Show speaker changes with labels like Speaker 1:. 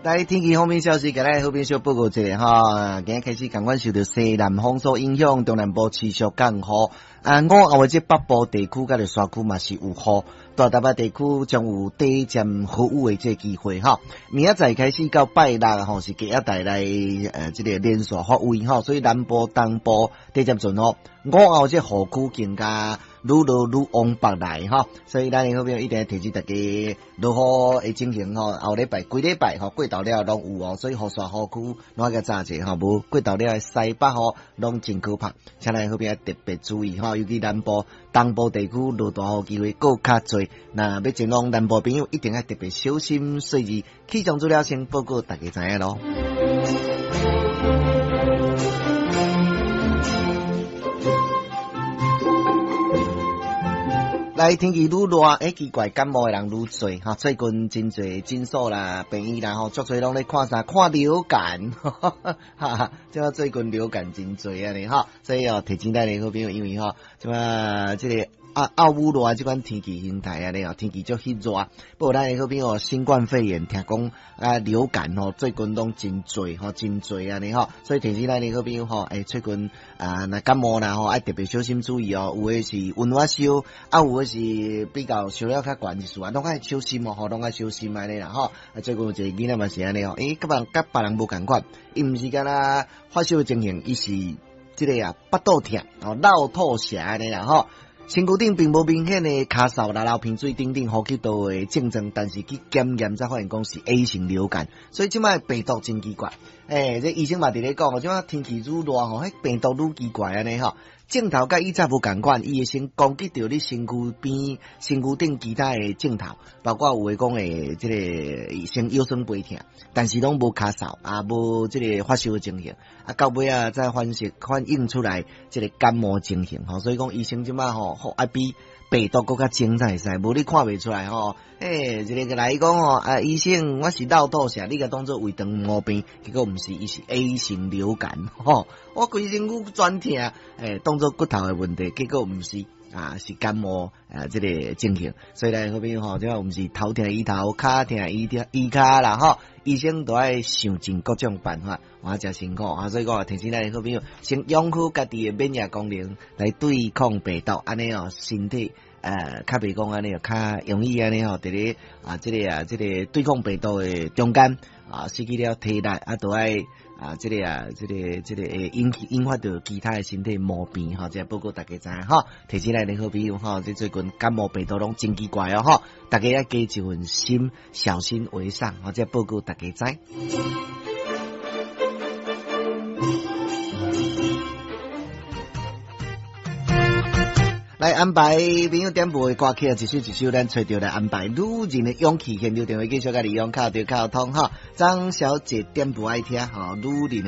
Speaker 1: 來天氣方面消息，共咱好朋友報告一下吼。今日開始仝款受著西南風所影響，中南部持續降雨。啊，午後的這北部地區佮著山區嘛是有雨，大台北地區將有短暫豪雨的這個機會吼。明仔載開始到拜六吼是低壓帶來這個連續發威吼，所以南部、東部短暫陣雨。午後這雨區更加愈落愈往北來吼，所以咱的好朋友一定要提醒大家落雨的情形吼，後禮拜規禮拜吼過頭了攏有哦，所以雨傘雨具攏愛共紮者吼，無過頭了的西北雨攏真可怕，請咱好朋友特別注意吼，尤其南部、東部地區落大雨機會閣較濟，若欲前往南部朋友一定愛特別小心細膩。氣象資料先報告大家知影囉。來天氣愈熱，欸，奇怪，感冒的人愈濟哈。最近真濟診所啦、病院啦吼，足濟攏咧看啥？看流感，哈哈，這馬最近流感真濟按呢吼，所以哦，提醒咱的好朋友，因為吼，這馬這個。啊，澳烏熱這款天氣形態按呢哦，天氣足彼熱。不過咱的好朋友新冠肺炎聽講啊流感吼，最近攏真濟吼，真濟按呢吼，所以提醒咱的好朋友吼，欸，最近啊，若感冒啦吼，愛特別小心注意哦。有的是溫熱燒，啊，有的是比較燒了較懸一絲啊，攏愛小心哦，吼，攏愛小心按呢啦吼。啊，最近有一個囡仔嘛是按呢哦，欸，佮別佮別人無仝款，伊毋是干焦發燒的情形，伊是這個啊，腹肚疼哦，落肚瀉按呢啦吼。身軀頂並無明顯的咳嗽啦、流鼻水等等呼吸道的症狀，但是去檢驗才發現講是 A 型流感，所以這擺病毒真奇怪。欸，這醫生嘛佇咧講，這擺天氣愈熱吼，彼病毒愈奇怪按呢吼。症頭佮以前無仝款，伊會先攻擊著你身軀邊、身軀頂其他的症頭，包括有的講會這個先腰酸背疼，但是攏無咳嗽啊，無這個發燒的情形，啊，到尾仔才反映出來這個感冒情形吼，所以講醫生這擺吼，愛比病毒閣較精才會使，無你看袂出來吼。欸，一個來講吼，啊，醫生，我是落肚瀉，你共當做胃腸毛病，結果毋是，伊是 A 型流感吼。我規身軀全疼，欸，當做骨頭的問題，結果毋是，啊，是感冒啊，這個情形。所以咧，好朋友吼，這擺毋是頭疼醫頭，跤疼醫醫跤啦吼。醫生都愛想盡各種辦法，哇，誠辛苦啊！所以講提醒咱的好朋友，先養好家己的免疫功能來對抗病毒，按呢哦，身體較袂講按呢較容易按呢吼，佇咧啊，這個啊，這個對抗病毒的中間啊，失去了體力啊，都愛啊，這個啊，這個這個會引起引發著其他的身體毛病吼，這個報告大家知影吼。提醒咱的好朋友吼，這最近感冒病毒攏真奇怪哦吼，大家愛加一份心，小心為上，吼，這個報告大家知。來安排朋友點播的歌曲，一首一首咱揣著來安排。女人的勇氣，現場電話繼續共你用敲著敲通哈。張小姐點播愛聽哈，女人的。